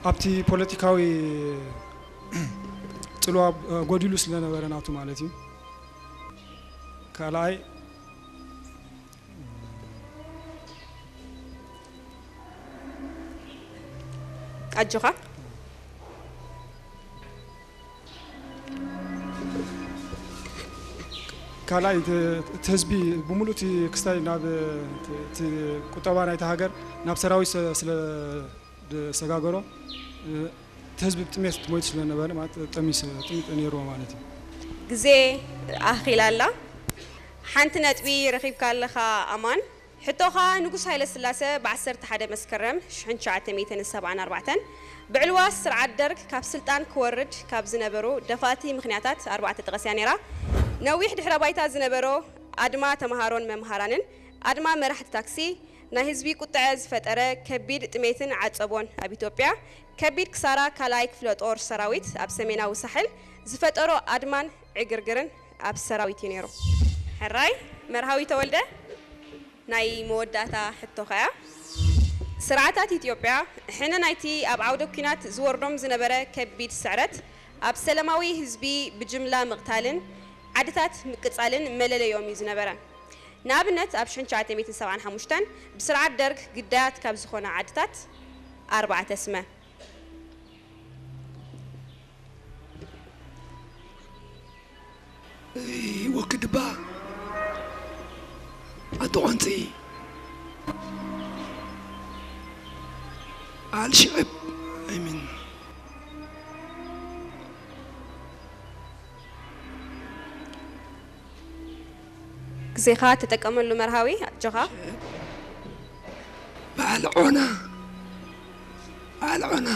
ኣብቲ ፖለቲካዊ ጽልዋ ጎዲሉ ስለነበረ ናቱ ማለት እዩ። ካልኣይ ኣጆኻ። ካልኣይ እቲ ህዝቢ ብምሉእ እቲ ክስታይ ናብ እቲ ቁጠባ ናይቲ ሃገር ናብ ሰራዊት ስለ ዝሰጋገሮ እቲ ህዝቢ ብጥሜት ሞይቱ ስለነበረ ማለት ጠሚስ ጥሚት ነይርዎ ማለት እዩ። ግዜ ኣኺላ ኣላ። ሓንቲ ነጥቢ ረኺብካ ኣለኻ ኣማን። ሕቶኻ ንጉስ ሃይለ ስላሰ ብ ዓሰርተ ሓደ መስከረም ሽሕን ትሽዓተ ሚእትን ሰብዓን ኣርባዕተን ብዕልዋ ስርዓት ደርግ ካብ ስልጣን ክወርድ ካብ ዝነበሩ ደፋእቲ ምኽንያታት ኣርባዕተ ጠቐስ እያ ነይራ። ነዊሕ ድሕረ ባይታ ዝነበሮ ኣድማ ተምሃሮን መምሃራንን ኣድማ መራሕቲ ታክሲ ናይ ህዝቢ ቁጥዐ ዝፈጠረ ከቢድ ጥሜትን ዓጸቦን ኣብ ኢትዮጵያ ከቢድ ክሳራ ካልኣይ ክፍለ ጦር ሰራዊት ኣብ ሰሜናዊ ሳሕል ዝፈጠሮ ኣድማን ዕግርግርን ኣብ ሰራዊት እዩ ነይሩ። ሕራይ መርሃዊ ተወልደ ናይ መወዳእታ ሕቶ ከያ ስርዓታት ኢትዮጵያ ሕነ ናይቲ ኣብ ዓውደ ኲናት ዝወርዶም ዝነበረ ከቢድ ስዕረት ኣብ ሰላማዊ ህዝቢ ብጅምላ ምቕታልን ዓድታት ምቅጻልን መለለዮም እዩ ዝነበረ። ንኣብነት ኣብ ሽሕን ትሽዓተ ሚእትን ሰብዓን ሓሙሽተን ብስርዓት ደርግ ግዳያት ካብ ዝኾና ዓድታት ኣርባዕተ ስመ። ወክድባ ኣቶ ቆንፂ ኣልሽዕብ ኣይምን ግዜኻ ተጠቀመሉ መርሃዊ ኣጆኻ። በዓል ዖና በዓል ዖና